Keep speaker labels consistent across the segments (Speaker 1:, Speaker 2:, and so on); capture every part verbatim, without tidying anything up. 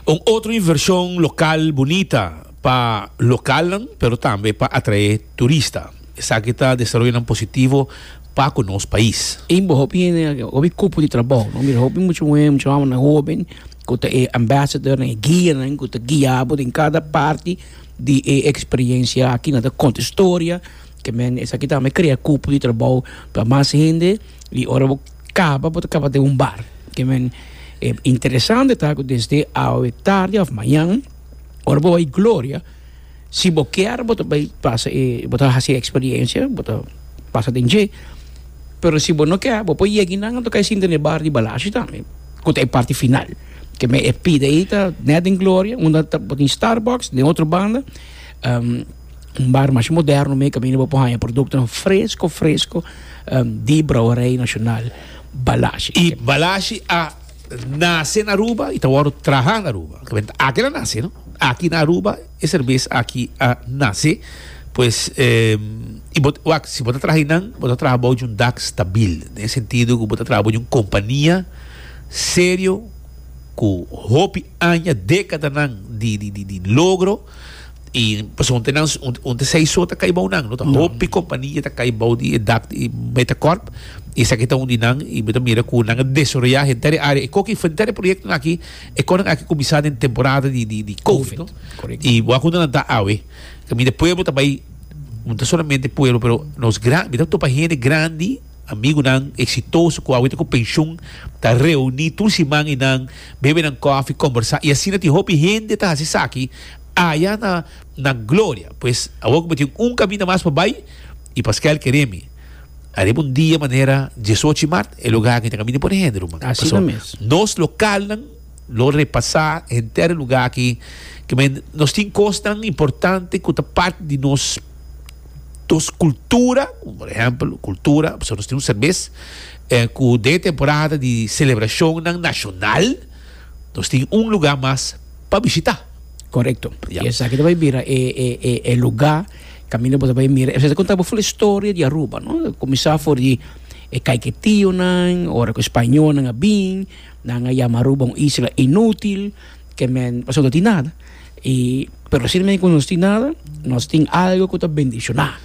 Speaker 1: Un otro inversion local bunita pa local, pero tambe pa atrae turista. Esaki ta desaroyo positivo pa nos pais.
Speaker 2: Y hopi hopi cupo di trabou, no? Mira, hopi mucho muhe, mucho homber hoben, cu ta e ambassador, e guia, cu ta guia den cada parti di e experiencia aki, nan ta conta historia, kiermen esaki tambe crea cupo di trabou pa mas hende y ora bo caba, bo caba den un bar. Kiermen e interesante ta cu desde awe tardi of mañan, ora bo bay Gloria, si bo kier, bo bay pasa e bo ta haci experiencia, bo ta pasa den dje. Pero si bo no kier, bo por yega nan anto cay sinta den bar di Balashi tambe. Cu e parti final. Kiermen e pida ey ta net den Gloria, unda ta tin Starbucks, di otro banda, um, un bar mas moderno, mes caminda bo por haya producto fresco, fresco, um, di Brouwerij Nacional Balashi.
Speaker 1: Y Balashi a nace na Aruba y ta awor traha na Aruba. Aki el a nace, no? Aki na Aruba, e cerbes aki a nace. Pues, eh, y bo, wak, si bo ta traha nan, bo ta traha di un dak stabil. Den sentido cu bo ta traha di un compania serio, cu hopi aña, decadanan di, di, di, di logro. Y pues un tenan un un seis so ta cay bou nan, no? Ta hopi compania ta cay bou di dak di Metacorp. Y esaki ta un di nan y bo ta mira cu nan a desaroya henter e area. Y coki henter e proyecto aki e con aki cuminsa den temporada di di di COVID, no?
Speaker 2: Correcto.
Speaker 1: Y wak unda nan ta awe. Caminda pueblo tambe no ta solamente pueblo, pero nos gran, mi ta topa hende grandi, amigonan exitoso cu awor cu pensioen, ta reuni tur siman y nan bebe nan koffie, conversa y asina tin hopi hende ta haci esaki aya na na Gloria. Pues awor cu tin un caminda mas pa bay y Pascal keremi. Ariba un dia manera diesocho maart, e lugar aki ta caminda por hende, ruman.
Speaker 2: Asina
Speaker 1: Paso,
Speaker 2: mes.
Speaker 1: nos local lo repasa henter e lugar aki kiermen nos tin cos tan importante cu ta parti di nos nos cultura, por ehempel, cultura, so nos tin un cerbes, eh, cu den temporada di celebracion nacional, nos tin un lugar mas pa bishita.
Speaker 2: Correcto.
Speaker 1: Ja.
Speaker 2: Y esaki bay bira e, e, e, e lugar caminda bo bay mira. Bo ta conta e historia di Aruba, no? Cuminsa for di e Caiquetionan, ora cu spañonan a bin, nan a yama Aruba un isla inutil, kiermen paso no tin nada. Y pero si no nos tin nada, nos tin algo cu ta bendiciona.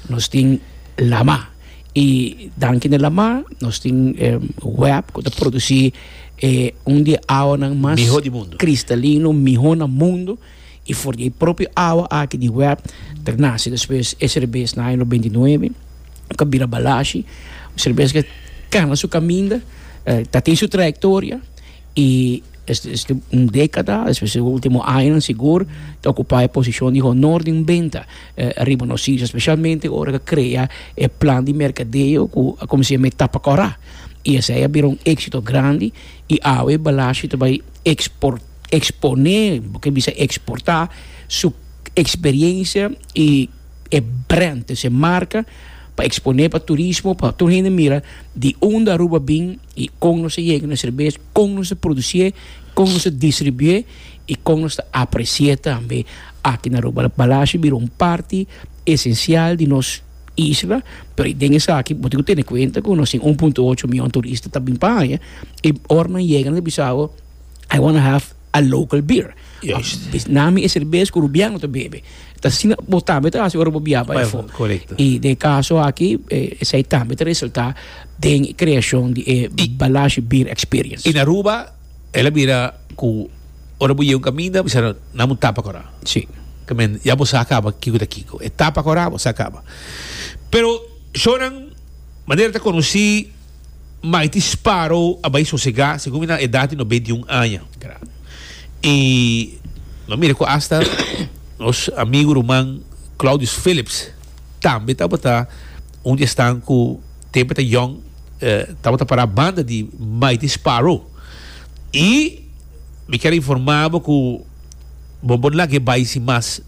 Speaker 2: Nos tin lama. Y danki na lama, nos tin eh, web cu ta produci eh, un di awa mas
Speaker 1: Miho di mundo.
Speaker 2: cristalino, miho na mundo. Y for di propio awa aki di web, ta nace despues e cerbes na aña nobenta y nuebe, cu a bira Balashi, un cerbes cu a cana su caminda, eh, ta tin su trayectoria y este, este un decada, despues e ultimo aña sigur, ta ocupa e posicion di honor di un benta eh, ariba nos isla, especialmente ora cu a crea e plan di mercadeo cu con se yama Tapa Cora. Y esey a bira un exito grandi y awe Balashi tambe export expone, pakico bisa exporta su experiencia y e brand, e marca pa expone pa turismo, pa tur hende mira di unda Aruba a bin y con nos a yega na cerbes, con nos ta produci, con nos ta distribui y con nos ta aprecia tambe aki na Aruba. Balashi bira un parti esencial di nos isla, pero den esaki, bo tin cu tene cuenta cu nos tin un punto ocho miyon turista tambe pa y ora nan yega nan bisa: "I want to have a local beer."
Speaker 1: Juist.
Speaker 2: Ah, nami e cerbes cu rubiano ta bebe. Ta asina, bo tambe ta hasi ora bo biaha
Speaker 1: Bai,
Speaker 2: afo.
Speaker 1: correcto.
Speaker 2: Y den caso aki, eh, esey tambe ta resulta den creacion di eh, Balashi Beer Experience.
Speaker 1: Na Aruba, el a bira cu ora bo yega un caminda, bisa nan un tapa cora.
Speaker 2: Si.
Speaker 1: Kiermen, ya bo sa caba kiko ta kiko. E tapa cora, bo sa caba. Pero, shonan, manera ta conoci, Mighty Sparrow a bay sosega, segun na edad di nobenta y un aña.
Speaker 2: Grave.
Speaker 1: Y, no mira cu hasta nos amigo ruman Claudius Phillips tambe tabata un di esnan cu tempo ta young eh, tabata para banda di Mighty Sparrow. Y mi kier informa cu bo bon la cu bay sin mas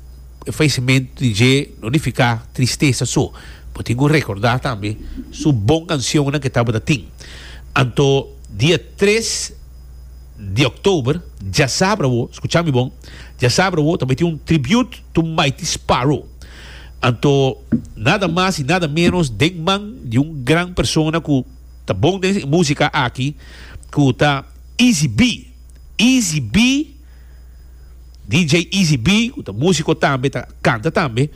Speaker 1: e fayecimento di dje no significa tristesa so. Bo tin cu recorda tambe su bon cancion cu tabata tin. Anto dia tres di october, diasabra, scucha mi bon, diasabra tambe tin un tribute to Mighty Sparrow. Anto nada mas y nada menos den man di un gran persona cu ta bon den musica aki, cu ta Easy B. Easy B. D J Easy B, ku ta músiko tambe, ta kanta tambe.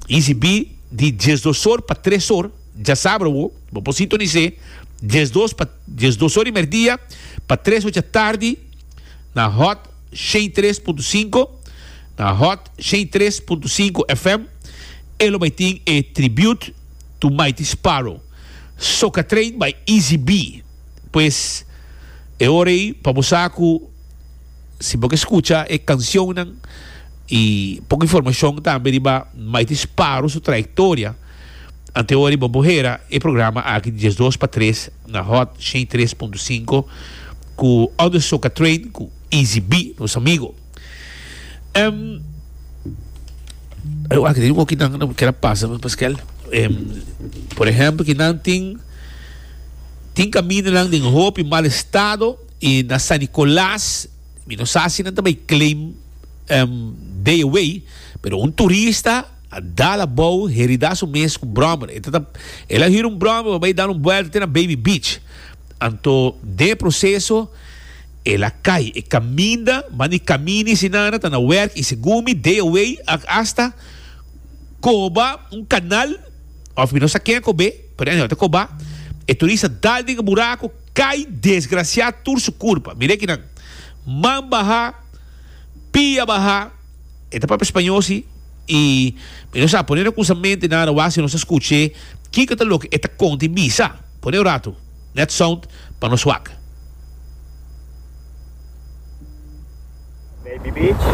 Speaker 1: Easy B di diesdos or pa tres or, djasabra bo, bo por sintonis'é, diesdos pa diesdos or i mèrdia pa tres or djatardi na Hot shen i tres punto sinku, na Hot shen i tres punto sinku F M, e lo bai tin e tribute to Mighty Sparrow. Soca Train by Easy B. Pues, e ora ei pa bo sa ku si bo ke skucha e kanshonnan i poko informashon tambe riba Mighty Sparrow su trayektoria, anto e ora ei bo por hera e programa aki di diesdos pa tres na Hot shen i tres punto sinku ku On the Soca Train ku Easy B, nos amigo. Um, eu acho que tem um que não quero passar, Pascal. Um, por ehèmpel, ku nan tin tin kamindanan den hopi mal estado i na San Nicolas, mi no sa si nan tambe claim um, day away, pero un turista a dal abou, heridá su mes ku bròmer. El a hür un bròmer, bai dal un buèlta te na Baby Beach. Anto, den proseso, el a kai, e kaminda, mani kamini sinana, ta na werk, i segun mi, day away, hasta koba un kanal, òf mi no sa ken a kob'é, pero anyway, ta koba, e turista dal den e buraku, kai, desgrasiá tur su kurpa. Mira akinan, man baha, pia baha, e ta papia spañó si, i mi no sa, pone na kusamente nada, wak si nos a skuch'é, kiko ta loke e ta konta i bisa. Pone un ratu, net sound, pa nos wak.
Speaker 3: Baby Beach,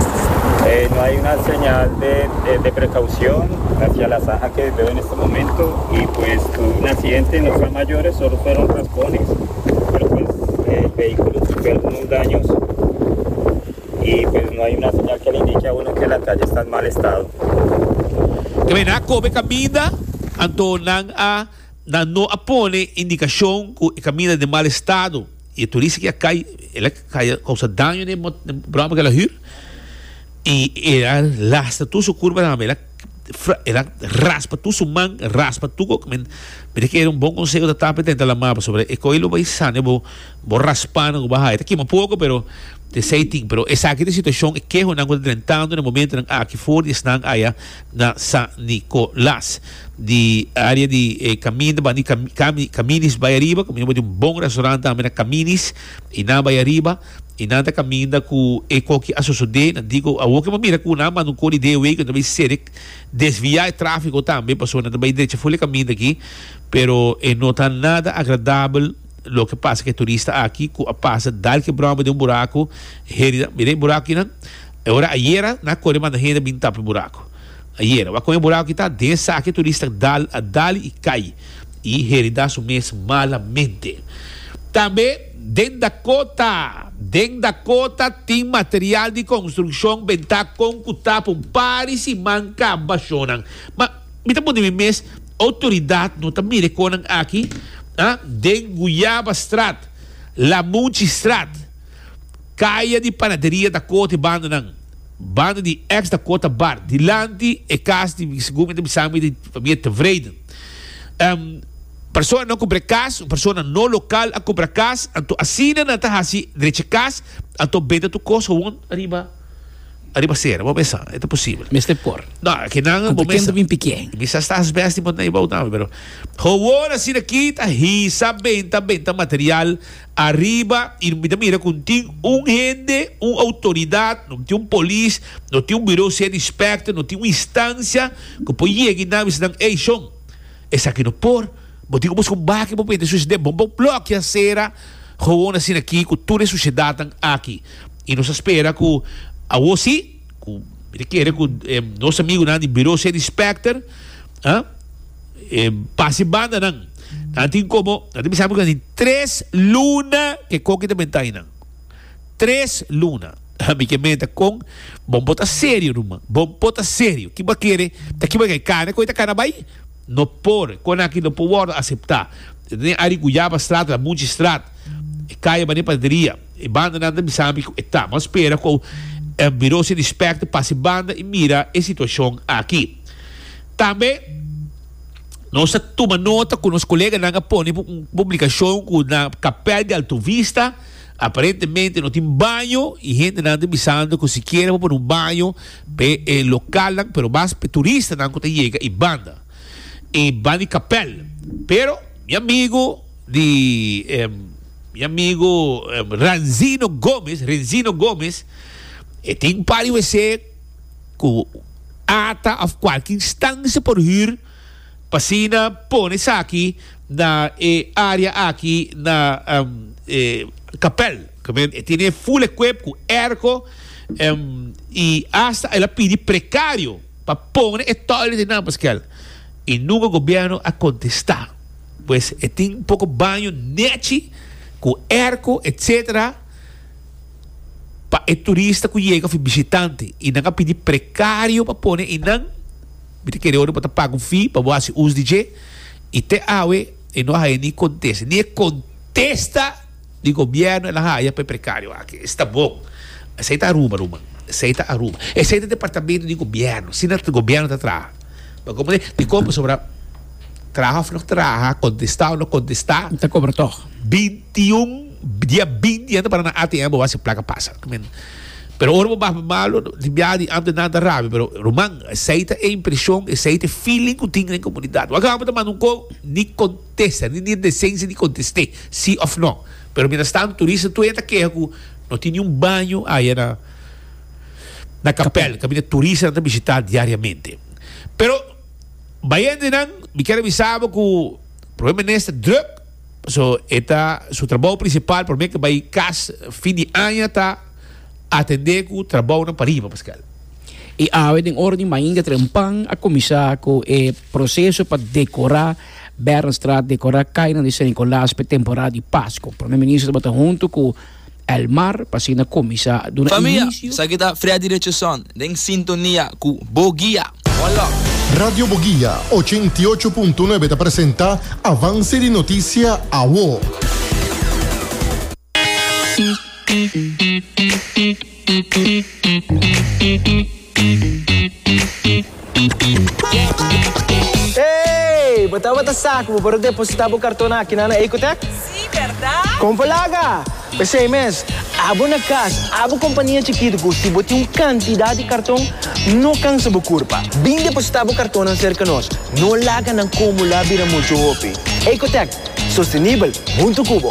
Speaker 3: eh, no hay una señal de, de, de precaución hacia la zanja que veo en este momento y pues tuve un accidente, no fue a mayores, solo fueron raspones, pero pues el vehículo sufrió algunos daños y pues no hay una señal que le indique a uno que la calle está en mal estado.
Speaker 1: Ke men a koba e kaminda, anto nan a nan no a pone indikashon ku e kaminda den mal estado. I e turista ki a kai, el a kai a kousa daño den e bròmer ku el a hür i el a lastra tur su kurpa tambe, el a el a raspa tur su man, raspa tur kos. Mi ta kere un bon konseho ta tapa e tenta lamá pasobra e koi lo bai sana bo bo raspanan ku bo a haya. Ta kima poko pero esei tin. Pero esaki ta e situashon, e kehonan ku ta drentando na e momentonan aki for di esnan aya na San Nicolas. Di area di e kaminda banda di Caminis bai ariba, kaminda bo tin un bon restaurant tambe na Caminis i nan bai ariba i nan ta kaminda ku e koki a sosodé. Nan di ku awor ke bo mira ku nan manda un kor di D O W ku nan ta bai sere desviá e tráfiko tambe pasobra nan ta bai drecha ful e kaminda aki, pero e no ta nada agradabel loke pasa ku e turista aki ku a pasa dal ke bròma den un buraku herida. Mira e buraku kinan e ora ayera nan a kore manda hende bin tapa e buraku. Ayera, wak kon e buraku ki ta den esaki e turista dal a dal i kai i herida su mes malamente. Tambe den Dakota, den Dakota tin material di konstrukshon bentá kon ku tapa un par di siman kaba shonnan. Ma mi ta pone mi mes, outoridat no ta mira e konan aki, ah, den Guyabastraat, Lamunchistraat, Kaya di Panaderia Dakota i bandanan, banda di ex Dakota Bar, dilanti e kas di, segun mi ta bisa mi, di famia Tevreden. Um, persona no kumpra e kas, un persona no lokal a kumpra kas, anto asina nan ta hasi drecha kas, anto benta tur kos gewoon ariba ariba sera. Bo mesa, e ta posibel?
Speaker 2: Mester por.
Speaker 1: No, ke nan
Speaker 2: Anto
Speaker 1: bo
Speaker 2: ken
Speaker 1: mesa.
Speaker 2: ta bin pikié?
Speaker 1: Mi sa sta asbest di pon na ibou tambe, pero gewoon asina aki ta hisa benta benta material ariba y mi ta mira cu tin un hende, un autoridad, no tin un polis, no tin un bureau city inspector, no tin un instancia cu por yega y nan bisa nan, ey shon, esaki no por, bo tin cu busca un baki pa pende suciedad, bo bo blokia cera gewoon asina aki cu tur e suciedadnan aki. Y nos a spera cu awo si, cu mi ta kere cu nos amigunan di bureau city inspector, ah, E pasa e bandanan. Nan tin komo, nan ta bisa mi ku nan tin tres luna ke koki ta benta einan. Tres luna. Mi ke menta kon bon bo ta serio ruman. Bon bo ta serio. Ki bo a kere ta ki bo a kere kana koe ta kana bai? No por. Kon aki no por wòrdu aseptá. Den área Guyabastraat, Lamunchistraat, e kaya banda e panaderia, e bandanan ta bisa mi ku e ta. Bo a spera ku e Bureau City Inspector pasa e banda i mira e situashon aki. Tambe nos a tuma nota ku nos koleganan a pone un publikashon ku na Kapèl di Alto Vista Aparentemente no tin baño y hendenan ta bisando cu sikiera por pone un baño pe e localnan, pero mas pe turistanan cu ta yega y banda. E banda di Kapel. Pero mi amigo di mi amigo Ranzino Gomez, Renzino Gomez, e tin un par di wc cu ata of cualke instancia por huur pa asina pone esaki na e area aki na e Kapel. E tene full equip cu airco y hasta el a pidi precario pa pone e toilet einan, Paskel. Y nunca gobierno a contesta. Pues e tin un poco baño nechi cu airco etcetera pa e turista cu yega of e bishitante y nan a pidi precario pa pone einan. Mi ta kere ora bo ta paga un fee pa bo haci uso di dje y te awe e no a haya ni contesta ni e contesta di gobierno el a haya pa e precario aki. Esta bon. Esey ta Aruba, ruman. Esey ta Aruba. Esey ta departamento di gobierno. Asina gobierno ta traha. Bo comprende? Dikon? Pasobra traha of no traha, contesta of no contesta.
Speaker 2: Ta cobra tog.
Speaker 1: Bintiun, dia binti nan ta para na A T M bo wak si placa pasa. Pero ora bo baha malo, di biaha di ambtenaar ta rabia. Pero ruman, esey ta e impresion, esey ta e feeling cu tin den comunidad. Wak abo ta manda un co, ni contesta, ni tin decencia di conteste, si of no. Pero mientras tanto turista tur ta keha cu no tin ni un baño aya na na Kapel, caminda turistanan ta bishita diariamente. Pero bayendenan, mi kier a bisa bo cu Prome Minister druk, paso e ta su trabou principal prome ke bay cas fin di aña ta atende cu trabounan pariba, Pascal.
Speaker 2: Y awe den ora di mainga trempan a cuminsa cu e proceso pa decora Berenstraat, decora cainan di San Nicolas pe temporada di Pasco. Prome Minister tabata hunto cu Elmar pa asina cuminsa duna
Speaker 4: Famia,
Speaker 2: inicio.
Speaker 4: Esaki ta Freddy Richardson den sintonia cu Boguia. One love.
Speaker 5: Radio Boguia ochenta i ocho punto nuebe ta presenta Avance di Noticia Awo.
Speaker 6: Hey, bo tabata sa cu bo por deposita bo carton aki na Ecotech?
Speaker 7: Sí, berdad?
Speaker 6: Con palaga! P'esey mes, abo na cas, abo compania chikito cu si bo tin un cantidad di carton, no cansa bo curpa. Bin deposita bo cartonnan cerca nos. No laga nan cumula bira mucho hopi. Ecotech, sostenibel hunto cu bo.